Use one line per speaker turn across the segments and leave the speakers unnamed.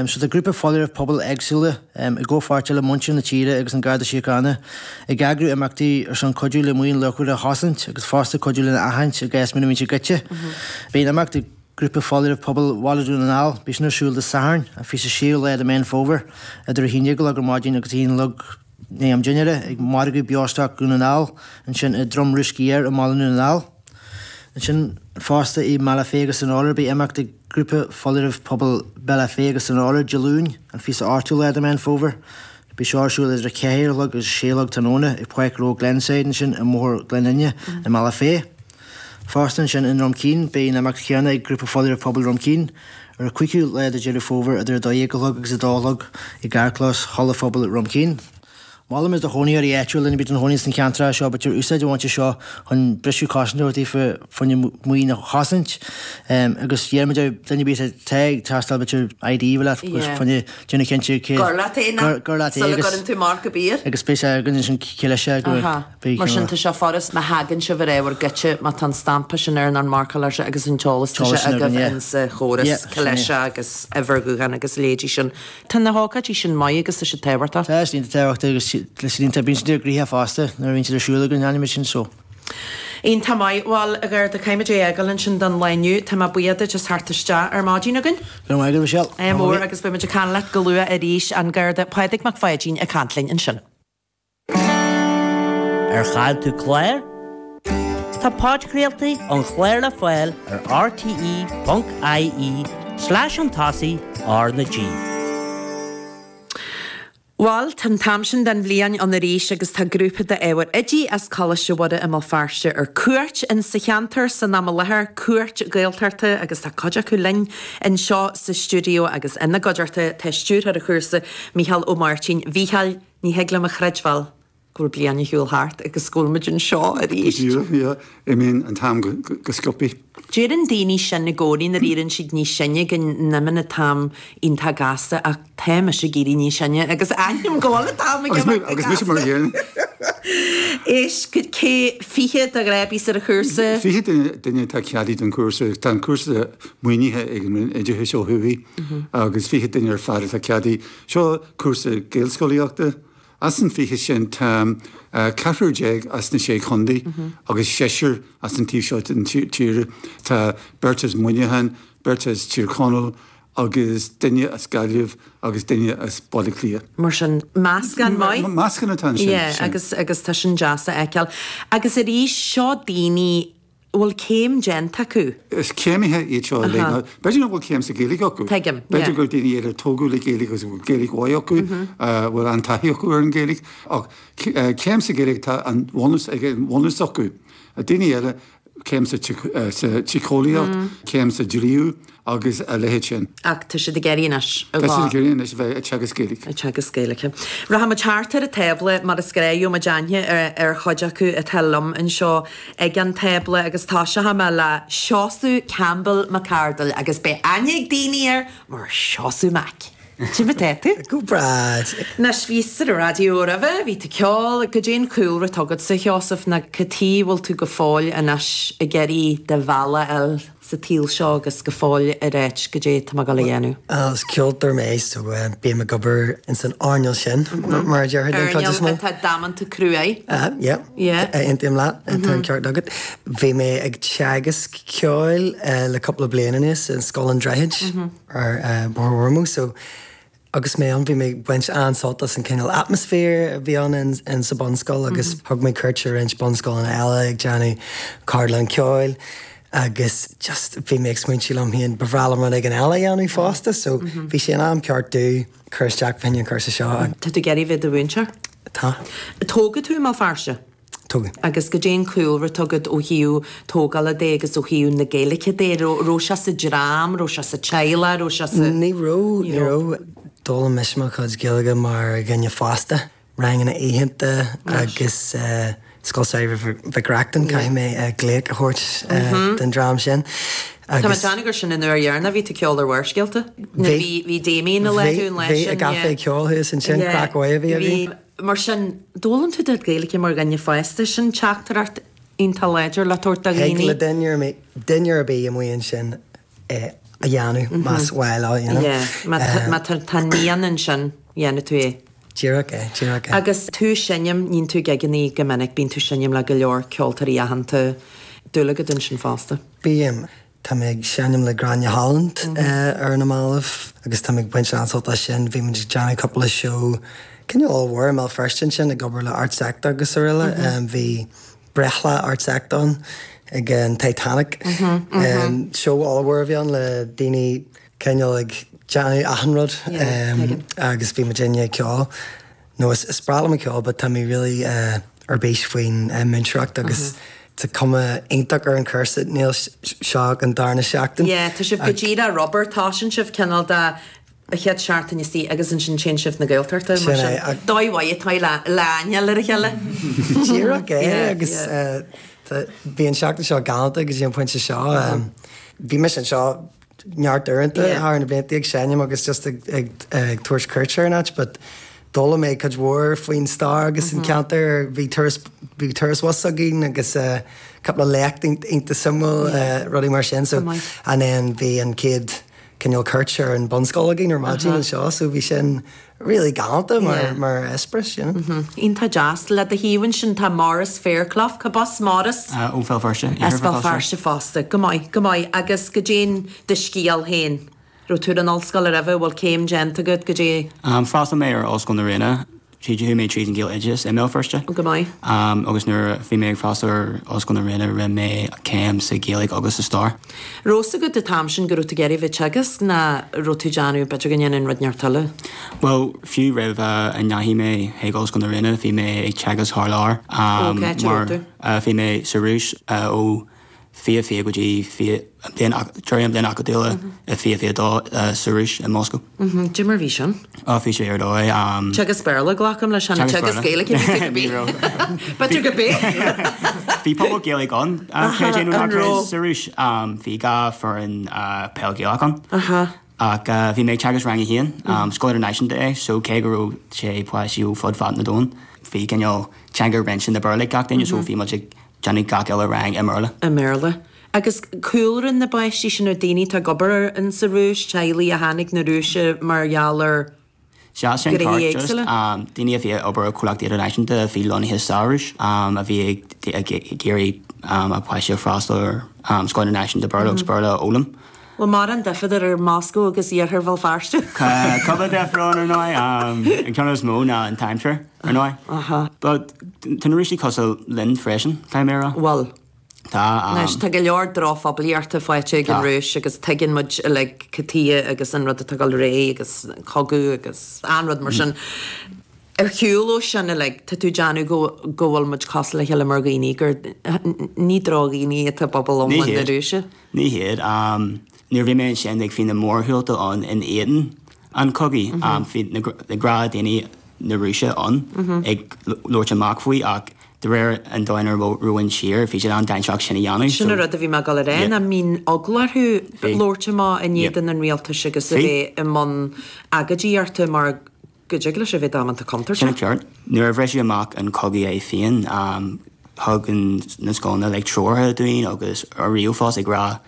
So tá grúpa foláirimh pobail éagsúla, i gcomhpháirt le muintir na tíre agus an Garda Síochána, ag eagrú imeachtaí ar son cuidiú le maoin luachmhar a chosaint agus fosta cuidiú lena aithint i gcás muna mbíonn sé goidte. Beidh an imeacht ag Grúpa Foláirimh Pobail Bhaile Dhún na nGall, beidh sin ar siúl Dé Sathairn, an 26ú lá de Mheán Fómhair, idir 11 a chlog ar maidin agus 1 a chlog i ndiaidh am dinnéara, ag Margadh Beostoic Dhún na nGall, ansin i Drom Rúsc Thiar i mBaile Dhún na nGall. Ansin fosta i mBealach Féich agus San Fheolar beidh imeacht ag Grúpa Foláirimh Pobail Bealach Féich agus San Fheolar Dé Luain, an 28ú lá de Mheán Fómhair. Beidh seo ar siúl idir 4 a chlog agus 6 a chlog tráthnóna ag Páirc Ghnó Glenside ansin i mBóthar Ghleann Fhinne i mBealach Féich. Fosta ansin i nDroim Cinn beidh an imeacht chéanna ag Grúpa Foláirimh Pobail Dhroim Cinn ar an 5ú lá de Deireadh Fómhair idir 12 a chlog agus 2 a chlog i gcarrchlós Halla Phobail Dhroim Cinn. Molaimid do chónaitheoirí áitiúla, duine ar bith atá ina chónaí sna ceantracha seo, b'fhéidir úsáid a bhaint as seo chun briseadh cosanta a thabhairt daofa fá choinne maoin a chosaint agus iarraimid ar duine ar bith atá ag teastáil b'fhéidir ID a bheith leat fá choinne déanamh cinnte cé
Gur leat é ná
gur leat é
sula
agus
gcuireann tú marc ar bith air.
agus beidh sé againn ansin cé leis é go
Beidh Mar sin tá sé furast má thagann sibh ar ábhar goidte, má tá an stampa sin air nó an marcáil air sin agus an t-eolas tá sé agaibh in sa chóras, cé leis é agus uimhir ghutháin agus a leithéidí sin. Tá na hócáidí sin maith agus tá siad tábhachtach.
Tá siad tábhachtach agus tá siad iontach, bíonn siad gnoitheach fosta nuair a bhíonn siad ar siúl againn, aithnímid sin so.
Iontach maith. Bhuel, a Gharda, caithfimid é a fhágáil ansin don lá inniu. Tá mé buíoch duit as theacht isteach ar maidin againn.
Go raibh maith agat, Michelle.
Ádh mór agus beimid ag caint leat go luath arís. An Garda Pádraig Mac Pháidín ag caint linn ansin.
Ar chaill tú clár? Tá podchraoltaí an chláir le fáil ar rte.ie slash chun tosaigh R na G.
Bhuel, tá an t-am sin den bhliain ann arís agus tá grúpa d'ábhair oidí as Coláiste Mhuire i mBéal Feirste ar cuairt in sa cheantar san am i láthair, cuairt Gaeltachta agus tá cuid acu linn anseo sa stiúideo agus ina gcuideachta tá stiúrthóir an chúrsa, Mícheál Ó Máirtín. A Mhícheáil, Ní thig liom a chreidbheáil go bhfuil bliain ar shiúl thart agus go bhfuil muid anseo arís.
Go díreach, yeah. Imíonn an t-am go sciobtha.
Deireann daoine sin i gcónaí nuair a éiríonn siad níos sine go n-imíonn an t-am iontach gasta ach tá mise ag éirí níos sine agus aithním go bhfuil an t-am ag imeacht go gasta.
Agus mise mar a gcéanna.
Éist, cé, 20 de ghrábaí ar an chúrsa?
20 duine atá ceadaithe don chúrsa. Tá an cúrsa maoinithe ag an Roinn Oideachais ó thuaidh agus 20 duine ar fad atá ceadaithe. Seo cúrsa Gaelscolaíochta. As an 20 sin tá ceathrar déag as na Sé Chontae agus seisear as an taobh seo den tír. Tá beirt as Muineachán, beirt as Tír Chonaill agus duine as Gaillimh agus duine as Baile Átha Cliath.
Mar sin, meascán maith.
Meascán atá ansin.
Yeah, agus agus tá sin deas a fheiceáil. Agus arís, seo daoine a bhfuil céim déanta acu.
Is céimithe iad seo uilig. Now, b'fhéidir nach bhfuil céim sa Ghaeilge acu.
Tuigim, yeah.
B'fhéidir gur daoine iad a tógadh le Gaeilge agus a bhfuil Gaeilge mhaith acu, a bhfuil an-taithí acu ar an Ghaeilge. Ach céim sa Ghaeilge, tá an bhunús ag an bhunús acu. Daoine eile, céim sa tsíceolaíocht, céim sa dlí agus a leithéid sin.
Ach tá siad ag iarraidh anois
a Tá siad ag iarraidh anois a bheith ag teagasc Gaeilge.
Ag teagasc Gaeilge. Rachaidh muid thart ar an tábla mar is gnách, gheobhaidh muid aithne ar chuid acu atá liom anseo ag an tábla agus toiseochaidh mé le Seosamh Campbell McArdle agus beidh aithne ag daoine air mar Seosamh Mac. Cad é mar atá tú?
Go breá.
Anois, bhís ar an raidió roimhe, bhí tú ag ceol, cad é an cúlra atá agatsa, a Sheosaimh, nó cad chuige a bhfuil tú go fóill anois ag iarraidh do bhealach a fháil sa tsaol seo agus go fóill ag ráit cad é tá mé ag dul a dhéanamh?
Is ceoltóir mé so bím ag obair ins an earnáil sin, mar a déarfá den chuid is mó.
Earnáil atá damanta cruaidh.
Yeah,
Yeah.
aontaím leat, tá an ceart agat. Bhí mé ag teagasc ceoil le cúpla bliain anuas i Scoil an Droichid. ar Bhóthar Ormeau so agus mé ann bhí mé ag baint an-sult as an cineál atmaisféar a bhí ann in sa bunscoil agus thug mé cuairt ar roinnt bunscoileanna eile ag déanamh ceardlann ceoil agus just bhí mé ag smaointiú liom féin ba bhreá liom rud éigin eile a dhéanamh fosta so bhí sé in am ceart domh cur isteach fá choinne an cúrsa seo.
Tá tú ag iarraidh bheith i do mhúinteoir?
Tá.
Tógadh tú i mBéal Feirste?
Tógadh.
Agus cad é an cúlra atá agat ó thaobh tógála de agus ó thaobh na Gaeilge de? Raibh sé sa dream, raibh sé sa teaghlach, raibh sé sa.
Ní raibh, ní raibh. D'fhoghlaim mise mo chuid Gaeilge mar dhuine fásta, ranganna oícheanta agus Scoil Samhraidh Mhic Reachtain, caithfidh mé glaoch a thabhairt don dream sin.
Tá mé ag déanamh gur sin an uair dheireanach a bhí tú ag ceol ar Bharrscéalta. Bhí, bhí Damien i láthair an lá
sin. Bhí, i gcaifé ceoil thuas ansin, craic mhaith a bhí againn.
Mar sin, d'fhoghlaim tú do Ghaeilge mar dhuine fásta, sin teachtaireacht iontach láidir le tabhairt do
Thig
dhaoine.
le duine ar bith, duine ar bith amuigh ansin é. a dhéanamh más mhaith leo, you know.
Yeah, má tá an mian ansin, dhéanfaidh tú é.
Díreach é, díreach é.
Agus tú ag seinm, níonn tú gigeannaí go minic, bíonn tú ag seinm le go leor ceoltóirí aitheanta, dúil agat ansin fosta?
Bím. Tá mé ag seinm le Gráinne Holland ar na mallaibh agus tá mé ag baint an-sult as sin. Bhí muid ag déanamh cúpla seó cineál ollmhór i mBéal Feirste ansin ag obair le ArtsEkta agus araile. Bhí breithlá ArtsEkta ann ag an Titanic. Seó ollmhór a bhí ann le daoine cineál ag déanamh achan rud agus bhí muidinne ag ceol. No is is breá liom an ceol but tá mé really ar bís faoin múinteoireacht agus tá cuma iontach ar an chúrsa níl seo ach an darna seachtain.
Yeah, tá sibh go díreach rubber, tosaíonn sibh cineál de an chéad seachtain istigh agus ansin téann sibh na Gaeltachta mar
Sin é,
sin. Dóigh mhaith atá le le aithne ar a chéile.
Díreach é agus bhí an seachtain seo galánta go dtí an pointe seo. Bhí mise anseo neart uaireanta thar na blianta ag seinm agus just ag ag tabhairt cuairte ar an áit but d'fhoghlaim mé cuid mhór faoin stair agus an ceantar. Bhí turas bhí turas bus againn agus cúpla léacht iontach suimiúil rudaí mar sin so and then bhí an chéad cineál cuairt ar an bunscoil againn ar maidin anseo so bhí sin really galánta mar mar eispéireas, you know.
Iontach deas. Le do thaobh ansin tá Maurice Fairclough. Cad as Maurice?
Ó Bhéal Feirste,
As Béal Feirste fosta. Go maith, go maith. Agus goidé do scéal féin. Raibh tú ar an ollscoil roimhe, bhfuil céim déanta agat, goidé?
D'fhreastail mé ar Ollscoil na Ríona. Tríd, chuaigh mé tríd an Ghaeloideachas i mBéal Feirste.
Go maith.
Agus nuair a bhí mé ag freastal ar Ollscoil na Ríona rinne mé céim sa Ghaeilge agus sa Stair.
Raibh fhios agat an t-am sin go raibh tú ag iarraidh bheith ag teagasc ná raibh tú ag déanamh b'fhéidir go ndéanfainn rud inteacht eile?
Bhuel, fiú roimh a ndeachaigh mé chuig Ollscoil na Ríona bhí mé ag teagasc thar lear.
Ó, cá háit a raibh tú?
Bhí mé sa Rúis ó 2020 go dtí deireadh an bhliain acadúla i 2022 sa Rúis i Moscó.
Cad é mar bhí sin?
Á bhí sé ar dóigh.
Teagasc Béarla, glacaim leis, chan teagasc Gaeilge a bhí tú go bith. B'fhéidir go bith.
Bhí pobal Gaeilge ann, creid é nó ná creid, sa Rúis. Bhí 2 foireann peil Gaelach ann. Ach bhí mé ag teagasc rang a haon, scoil idirnáisiúnta é, so cé go raibh sé páistí ó fud fad na domhan, bhí cineál teanga roinnte na Béarla ag gach duine, so bhí muid ag déanamh gach uile rang i mBéarla.
I mBéarla. Agus cúlra na bpáistí sin ar daoine atá ag obair in sa Rúis, teaghlaigh a tháinig na Rúise mar gheall ar
Sea, sin
ghnéithe
ceart, just
éagsúla.
daoine a bhí ag obair i comhlachtaí idirnáisiúnta a bhí lonnaithe sa Rúis, a bhí ag iarraidh a bpáistí a freastal ar scoil idirnáisiúnta Béarla agus Béarla a fhoghlaim.
Bhfuil mórán difear idir Moscó agus iarthar Bhéal Feirste?
Cúpla difear ann, ar ndóigh. An ceann is mó ná an t-aimsir, ar ndóigh. But tá na Rúisigh cosúil linn freisin, caithfidh mé a rá.
Bhfuil.
Tá.
Anois, tá go leor drochphoiblíochta faighte ag an Rúis agus tuigeann muid uilig cad tuige agus an rud atá ag dul ar aghaidh agus an cogadh agus an rud mar sin. Ar shiúl ó sin uilig, tá tú ag déanamh go go bhfuil muid cosúil le chéile mar dhaoine, gur ní drochdhaoine atá i bpobal iomlán na Rúise.
Ní hiad. Nuair a bhí mé ansin like bhí na mórshiúlta ann in éadan an chogaidh. Bhí na gnáthdhaoine na Rúise ann ag labhairt amach faoi ach de réir an dóigh ina raibh an tír, bhí siad an-dainséarach sin a dhéanamh.
Sin an rud a bhí mé ag dul a rá, nach mbíonn eagla orthu labhairt amach in éadan an rialtais agus a bheith i mbun agóidíochta mar go dtig leis a bheith damanta contúirteach.
Sin ceart. Nuair a bhriseadh amach an cogadh é féin, thug na scoileanna like treoracha dúinn agus ar ríomhphost ag rá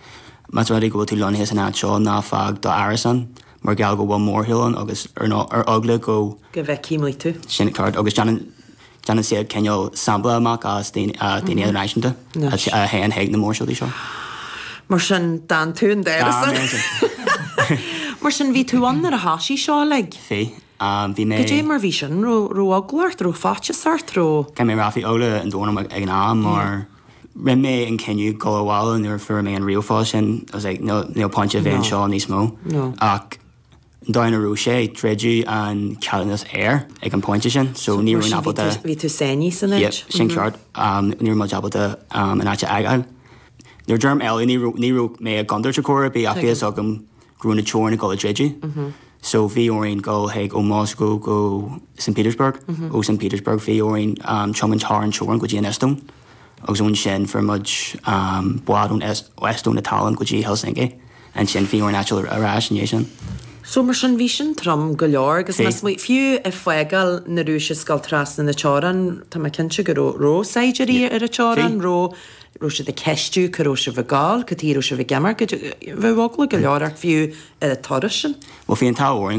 más rud é go bhfuil tú lonnaithe san áit seo ná fág d'árasán mar gheall go bhfuil mórshiúl ann agus ar ar eagla go
go bhfeicfidh muid tú.
Sin ceart agus déanann déanann siad cineál sampla amach as daoine daoine idirnáisiúnta a théann chuig na mórshiúltaí seo.
Mar sin, d'fhan tú in d'árasán. Mar sin, bhí tú ann nuair a thoisigh seo uilig?
Bhí. Bhí mé.
Goidé mar bhí sin? Raibh raibh eagla ort? Raibh faitíos ort? Raibh.
Caithfidh mé a rá, bhí eagla an domhain orm ag an am mar rinne mé an cinneadh dul abhaile nuair a fuair mé an ríomhphost sin. I was like, níl níl pointe a bheith anseo níos mó. Ach an dóigh ina raibh sé, druideadh an ceadúnas aeir ag an pointe sin so ní raibh
ábalta. Bhí tú sáinnithe san áit.
Yep, sin ceart. Ní raibh muid ábalta an áit a fhágáil. Nuair a deirim eile ní raibh ní raibh mé i gcontúirt ar chor ar bith ach bhí fhios agam go raibh na teorainn ag dul a druideadh. So bhí orainn dul chuig ó Moscow go St Petersburg, ó St Petersburg bhí orainn tiomáint thar an teorainn go dtí an Eastóin agus ansin fuair muid bád ón Eastóin go Tallinn go dtí Helsinki. Ansin bhí orainn eitilt ar ais i ndiaidh sin.
So mar sin bhí sin trom go leor agus más maith, fiú ag fágáil na Rúise is ag dul trasna na teorann, tá mé cinnte go raibh, raibh saighdiúirí ar an teorainn, raibh. Raibh siad ag ceistiú cá raibh sibh ag gabháil, cad chuige a raibh sibh ag imeacht, bheadh eagla go leor ort fiú ar an turas sin.
Bhuel bhí an t-ádh orainn.